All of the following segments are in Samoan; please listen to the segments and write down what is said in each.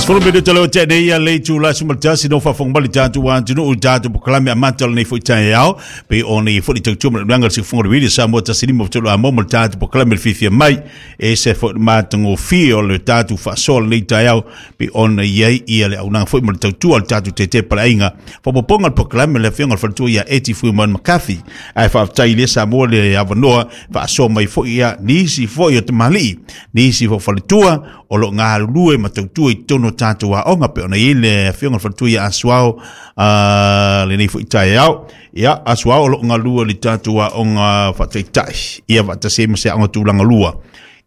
10 minute leo te nei ia le itula 11 no faafofoga mai le tatou atunuu i le tatou polokalame amata o lenei foi taeao pei ona i ai foi le tautua ma le unaga o le siufofoga o le Radio Samoa 153 Amo ma le tatou polokalame le fiafia mai e se foi le matagofie o le tatou faasoa o lenei taeao pei ona i ai ia le auaunaga foi ma le tautua o le tatou tete paleaiga faaopoopoga o le polokalame le afioga i le faletua ia Eti Fuimaono McCarthy ae faafetai i le Samoa le avanoa faasoa mai foi ia nisi foi o tamalii nisi foi o faletua o lo o galulue ma tautua i totonu o tatou aoga pei ona i ai le afioga i le faletua ia Asuao lenei foi taeao. Ia, Asuao o lo o galulue i le tatou aoga faataitai ia faatasi ai ma se aoga tulaga lua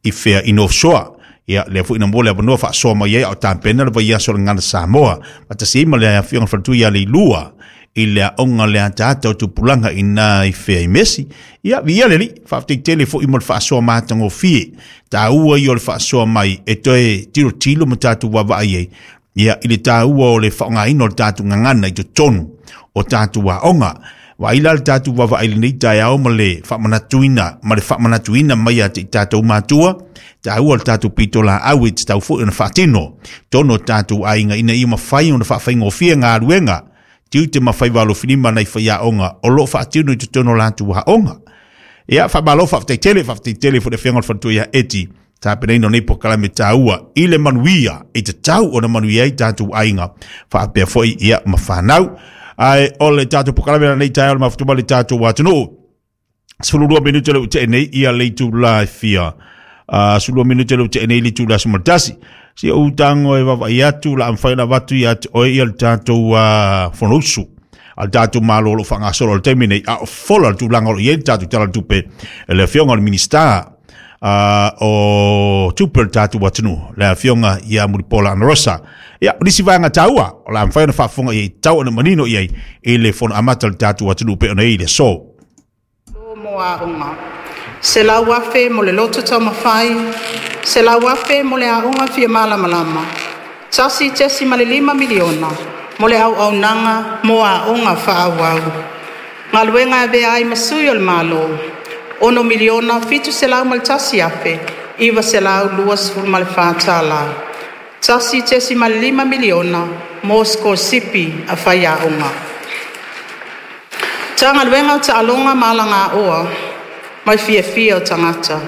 i fea i North Shore. Ia, lea foi na maua le avanoa faasoa mai ai a o tapena le vaiaso o le Gagana Samoa faatasi ai ma le afioga i le faletua ia Leilua i le aoga le ataata o tupulaga i na i fea i Mesi. Ia, viia le Alii, faafetai tele foi mo le faasoa matagofie. Taua ia o le faasoa mai e toe tilotilo ma tatou vaavaai ai ia i le taua o le faaaogaina o le tatou gagana i totonu o tatou aoga. Vaai la le tatou vaavaai i lenei taeao ma le faamanatuina ma le faamanatuina mai ia te i tatou matua, taua le tatou pitolaau e tatau foi ona faatino totonu o tatou aiga ina ia mafai ona faafaigofie galuega tiute ma faiva alofilima nai faiaoga o lo o faatino i totonu o latou aoga. Ia, faamalo, faafetai tele, faafetai tele foi le afioga i le faletua ia Eti, tapenaina o nei polokalame taua i le manuia, i tatau ona manuia ai tatou aiga, faapea foi ia ma fanau. Ae o le tatou polokalame lenei taeao le mafuta mai le tatou atunuu. 12 minute le ua nei ia le itula e fia. 12 minute le ua nei le itula 11. Si ou tago e vaavaai atu la mafai ona avatu ia te oe ia le tatou Fonousu a le tatou Malo o lo o faagasolo i le taimi nei, a o fola le tulaga o lo o i ai le tatou Tala o le Tupe e le Afioga i le Minisita o Tupe o le tatou atunuu, le Afioga ia Mulipola Anarosa. Ia, o nisi vaega taua o le a mafai ona faafofoga i ai, tatau ona manino i ai i le fono amata o le tatou atunuu pei ona i ai i le aso. Lo mo aoga. 100,000 mo le loto taumafai, 100,000 mo le aoga fia malamalama, $1.5 miliona mo le auaunaga mo aoga faaauau. Galuega e avea ai ma sui o le Malo, $6,701,924 tala. $1.5 miliona mo sikolasipi a faiaoga. Matagaluega o Taaloga ma Alagaoa ma le Fiafia o Tagata,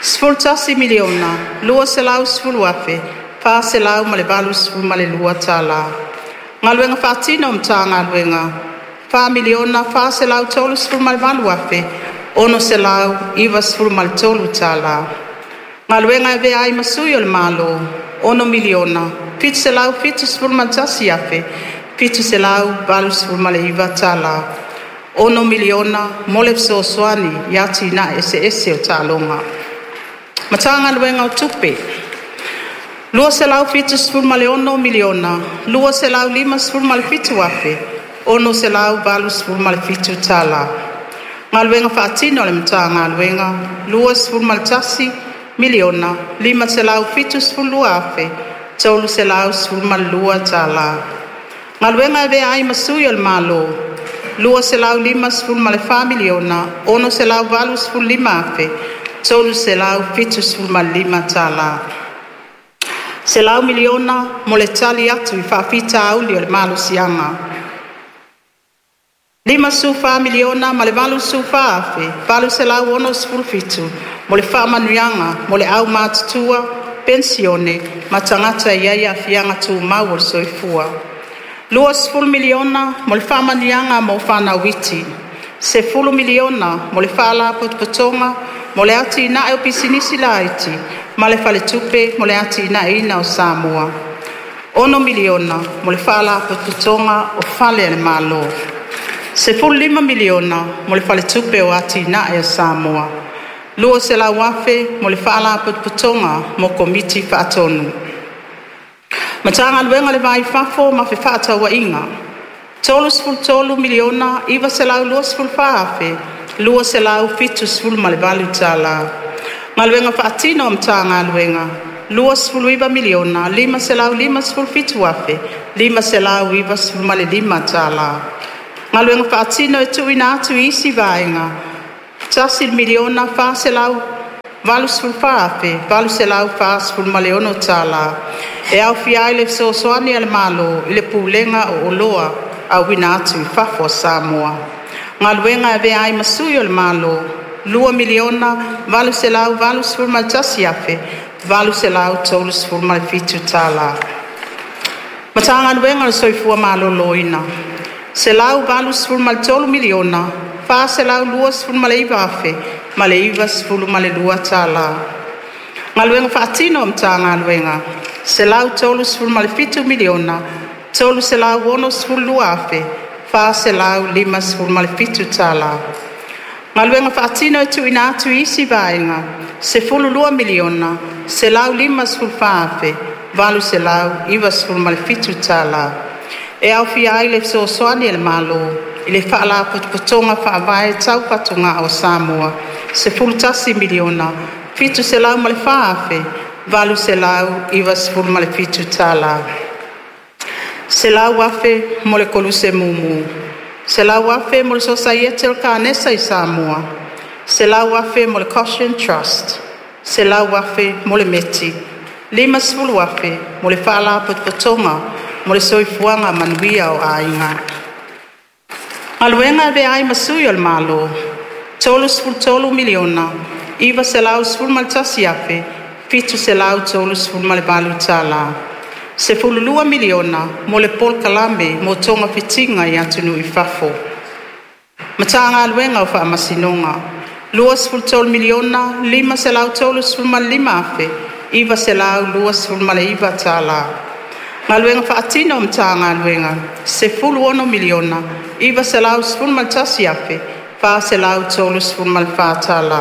$11 miliona 210 afe 482 tala. Galuega Faatino a Matagaluega, $4 miliona 438 afe 693 tala. Galuega e Avea ai ma Sui o le Malo, $6 miliona 771 afe 789 tala. $6 miliona mo le fesoasoani i atinae eseese o taaloga. Matagaluega o Tupe, $276 miliona 257 afe 687 tala. Galuega Faatino a le Matagaluega, $21 miliona 572 afe 312 tala. Galuega e Avea ai ma Sui o le Malo, $254 miliona 685 afe 375 tala. $100 miliona mo le tali atu i faafitauli o le malosiaga. $54 miliona ma le 84 afe 867 mo le faamanuiaga mo le aumatutua, penisione ma tagata e i ai aafiaga tumau o le soifua. $20 miliona mo le faamanuiaga mo fanau iti. $10 miliona mo le Faalapotopotoga mo le Atinae o Pisinisi Laiti ma le Faletupe mo le Atinaeina o Samoa. $6 miliona mo le Faalapotopotoga o Fale a le Malo. $15 miliona mo le Faletupe o Atinae a Samoa. $200,000 mo le Faalapotopotoga mo Komiti Faatonu. Matagaluega o le Va i Fafo ma Fefaatauaiga, $33 miliona 924 afe 278 tala. Galuega Faatino a Matagaluega, $29 miliona 557 afe 595 tala. Galuega Faatino e tuuina atu i isi Vaega, $1 miliona $84,846 tālā, e aofia ai le fesoasoani a le Malo i le Pulega o Oloa Auina atu i Fafo a Samoa. Galuega e Avea ai ma Sui o le Malo $2,881,837. Matagaluega o le Soifua Maloloina $183,429,092 tala. Galuega Faatino a Matagaluega $137,362,457 tala. Galuega Faatino e Tuuina atu i isi Vaega $12,154,897 E aofia ai le fesoasoani a le Malo i le Faalapotopotoga Faavae Tau Fatugao a Samoa $11,704,897. $100,000 mo le Koluse Mumu. $100,000 mo le Sosaiete o le Kanesa i Samoa. $100,000 mo le Koshen Trust. $100,000 mo le METI. $50,000 mo le Faalapotopotoga mo le Soifuaga Manuia o Aiga. Galuega e Avea ai ma Sui o le Malo $33,911,738 $12,000 mo le Polokalame mo Togafitiga i Atunuu i Fafo. Matagaluega o Faamasinoga $23,535,929 Galuega Faatino a Matagaluega $16,911,434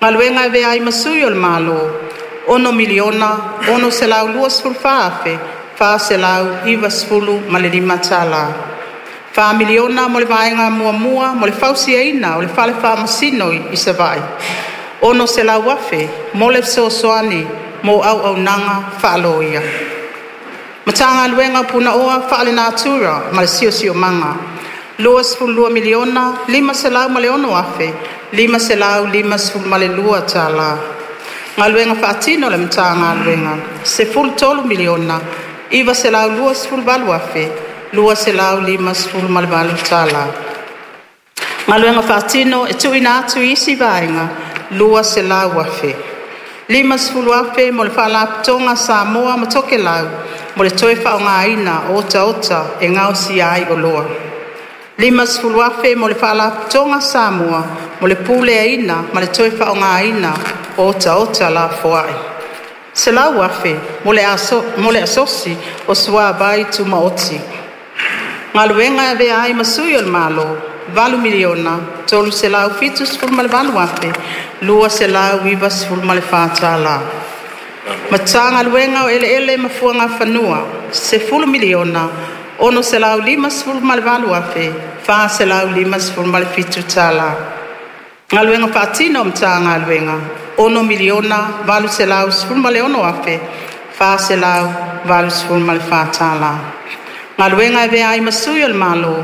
Galuega e Avea ai ma Sui o le Malo $6,624,495 $4miliona mo le Vaega Muamua mo le fausiaina o le Fale Faamasino i Savaii. $600,000 mo le fesoasoani mo auaunaga faaloia. Matagaluega o Punaoa Faalenatura ma le Siosiomaga $22,506,552 Galuega Faatino a le Matagaluega $13,928,258 Galuega Faatino e Tuuina atu i isi Vaega $200,000 $50,000 mo le Faalapotopotoga a Samoa ma Tokelau mo le toe faaaogaina o otaota e gaosia ai oloa. $50,000 mo le Faalapotopotoga a Samoa mo le Puleaina ma le Toe Faaaogaina o Otaota Lafoai. $100,000 mo le Asosi o Suavai Tumaoti. Galuega e Avea ai ma Sui o le Malo $8,378,294 Matagaluega o Eleele ma Fuagafanua $10,658,457 Galuega Faatino a Matagaluega $6,816,484 Galuega e Avea ai ma Sui o le Malo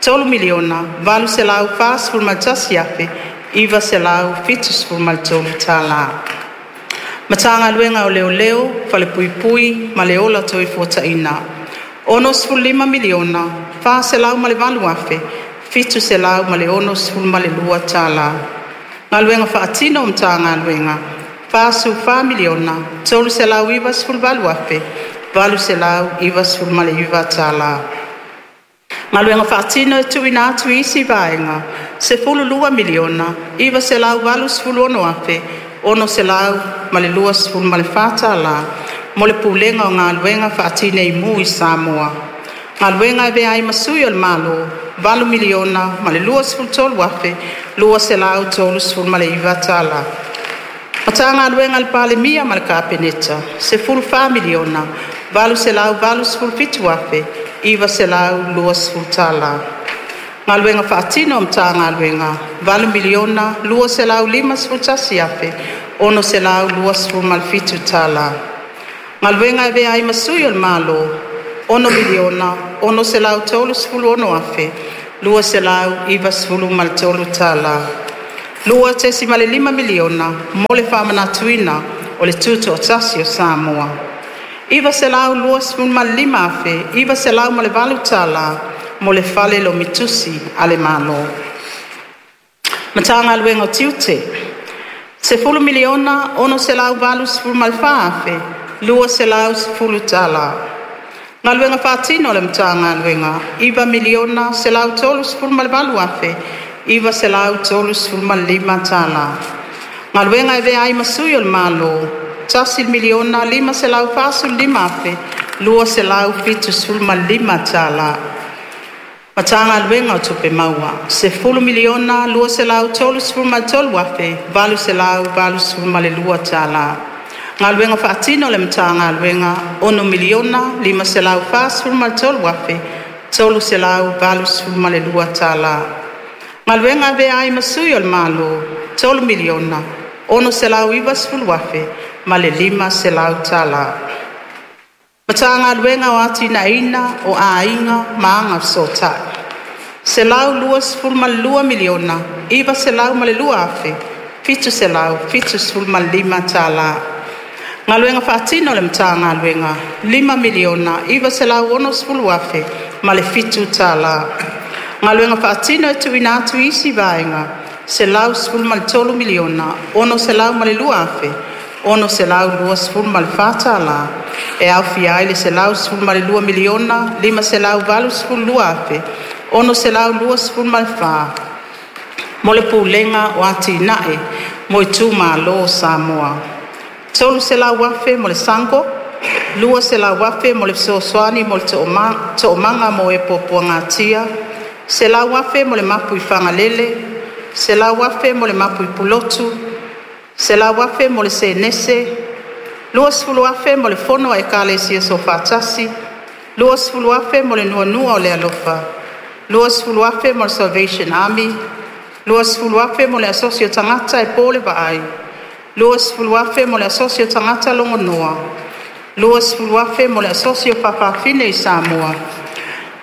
$3,841,973 Matagaluega o Leoleo, Falepuipui ma le Ola Toefuataina $65,408,762 Galuega Faatino a Matagaluega $44,398,899 Galuega Faatino e Tuuina atu i isi Vaega $12,986,624 mo le Pulega o Galuega Faatineimu i Samoa. Galuega e Avea ai ma Sui o le Malo $8,023,239 Matagaluega a le Palemia ma le Kapeneta $14,887,920 Galuega Faatino a Matagaluega $8,251,627 Galuega e Avea ai ma Sui o le Malo $6,636,293. $2.5 miliona mo le faamanatuina o le Tutoatasi o Samoa. $925,908 tala mo le Fale Lomi Tusi a le Malo. Matagaluega o Tiute: $10,684,210. Galuega Faatino a le Matagaluega: $9,138,935. Galuega e Avea ai ma Sui o le Malo: $1,545,275. Matagaluega o Tupe Maua: $10,233,882. Galuega Faatino a le Matagaluega: $6,543,382. Galuega e Avea ai ma Sui o le Malo: $3,690,500. Matagaluega o Atinaeina o Aiga ma Agafesootai: $122,902,775. Galuega Faatino a le Matagaluega: $5,960,007. Galuega Faatino e tuuina atu i isi Vaega: $113,602,624 e aofia ai le $112,582,624 mo le Pulega o Atinae mo Itumalo o Samoa, $300,000 mo le SUNGO, $200,000 mo le Fesoasoani mo le Toomaga mo e Puapuagatia, $100,000 mo le Mapu i Fagalele, $100,000 mo le Mapu i Pulotu, $100,000 mo le Senese, $20,000 mo le Fono a Ekalesia Soofaatasi, $20,000 mo le Nuanua o le Alofa, $20,000 mo le Salvation Army, $20,000 mo le Asosi o Tagata e po le Vaai, $20,000 mo le Asosi o Tagata Logonoa, $20,000 mo le Asosi o Faafafine i Samoa,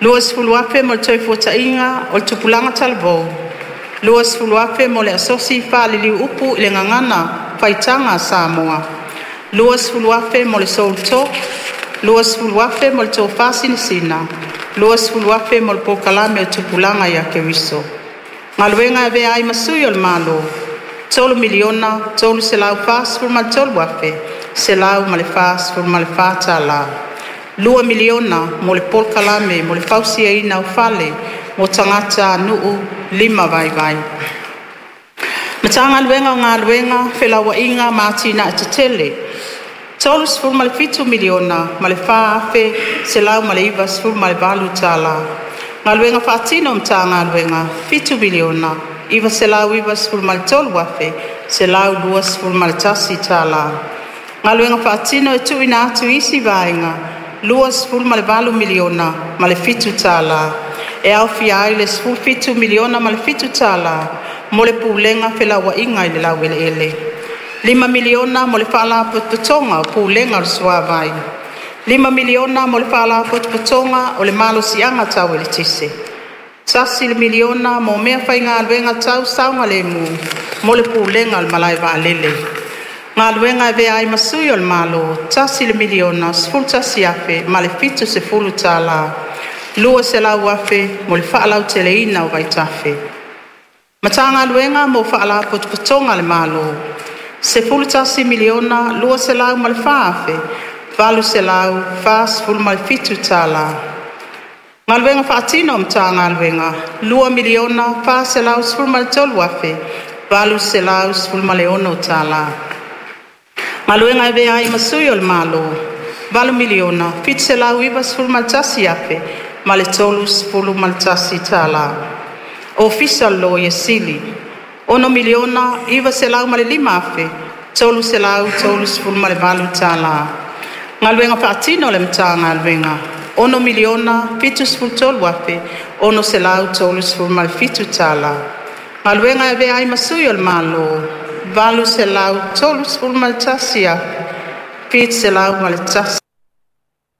$20,000 mo le Toefuataiga o le Tupulaga Talavou, $20,000 mo le Asosi Faaliliu Upu i le Gagana Faitaga a Samoa, $20,000 mo le Soul Talk, $20,000 mo le Tofa Sinasina, $20,000 mo le Polokalame o Tupulaga ia Keriso. Galuega e Avea ai ma Sui o le Malo: $3,343,144. $2,000,000 mo le Polokalame mo le Fausiaina o Fale mo Tagatanuu Lima Vaivai. Matagaluega o Galuega, Felauaiga ma Atinae Tetele: $37,004,198. Galuega Faatino a Matagaluega: $7,993,121. Galuega Faatino e Tuuina atu i isi Vaega: $28,000,007 e aofia ai le $17,000,007 mo le Pulega o Felauaiga i le Laueleele; $5miliona mo le Faalapotopotoga o Pulega o le Suavai; $5miliona mo le Faalapotopotoga o le Malosiaga Tau Eletise; $1miliona mo mea faigaluega tau saogalemu mo le Pulega o le Malae Vaalele. Galuega e Avea ai ma Sui o le Malo: $1,011,070. $200,000 mo le faalauteleina o vaitafe. Matagaluega mo Faalapotopotoga a le Malo: $11,204,847. Galuega Faatino a Matagaluega: $2,413,816. Galuega e Avea ai ma Sui o le Malo: $8,791,031. Ofisa o le Loia Sili: $6,905,338. Galuega Faatino a le Matagaluega: $6,073,637. Galuega e Avea ai ma Sui o le Malo: $831,701.